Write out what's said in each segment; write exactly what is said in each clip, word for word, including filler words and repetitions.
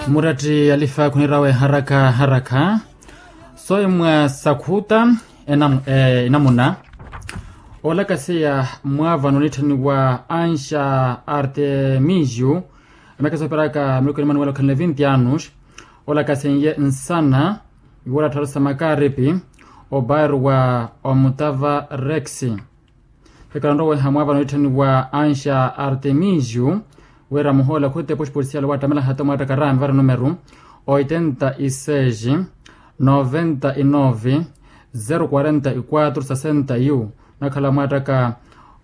Muratti alifa khunirawe haraka haraka. Soimwa sakhuta enamuna olakaseya mwavano nitthaniwa ansha artemisiu. Emyaka soperaka miruku ni manuwela okhanle vinti anus. Olakasenye nsana iwora tharu sa makaripi obairwa omutava rex. Hekalanroweha mwavano nitthaniwa ansha artemisiu wira muhoola khutipo xipolisiyali owattamela hata omwaattaka rami vari numeru oitenta y seis noventa y nove zero quarenta y quatro sesenta y un. Nakhala mwaattaka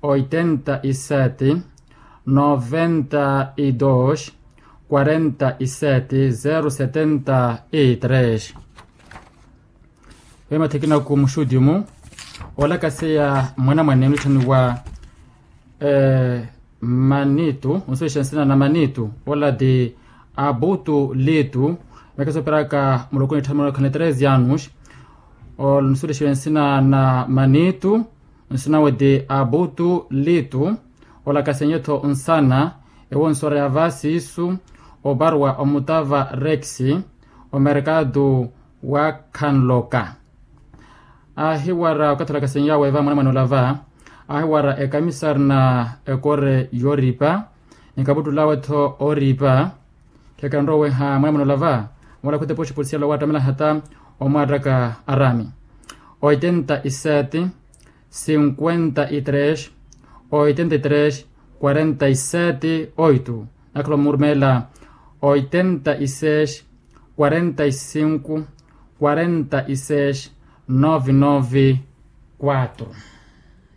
oitenta y sete noventa y dos quarenta y sete zero setenta y tres. Vemathikinaku muxuti omu olakaseya mwanamwane onitthaniwa manitu onsuwexa nsina na manitu ola ti abutu litu. Mekesa operaka muloko nitthaniwa khana tres anus. Onsuwexa nsina na manitu nsinawe ti abutu litu. Olakasenye-tho nsana ewonsora ya vasisu oparwa omutava rex omerkatu wa khanloka. Ahiwara okathi olakasenyawe va mwanamwane ola va ahiwara ekamisari na ekore yoripa nikaputtulawe-tho oripa. Khekhanroweha mwanamwane ola va wala khutipo xipolisiyali owattamela hata omwaattaka arami oitenta y sete cinquenta y tres oitenta y tres quarenta y sete oito. Nakhala omurumela oitenta y seis quarenta y cinco quarenta y seis nove nove quatro.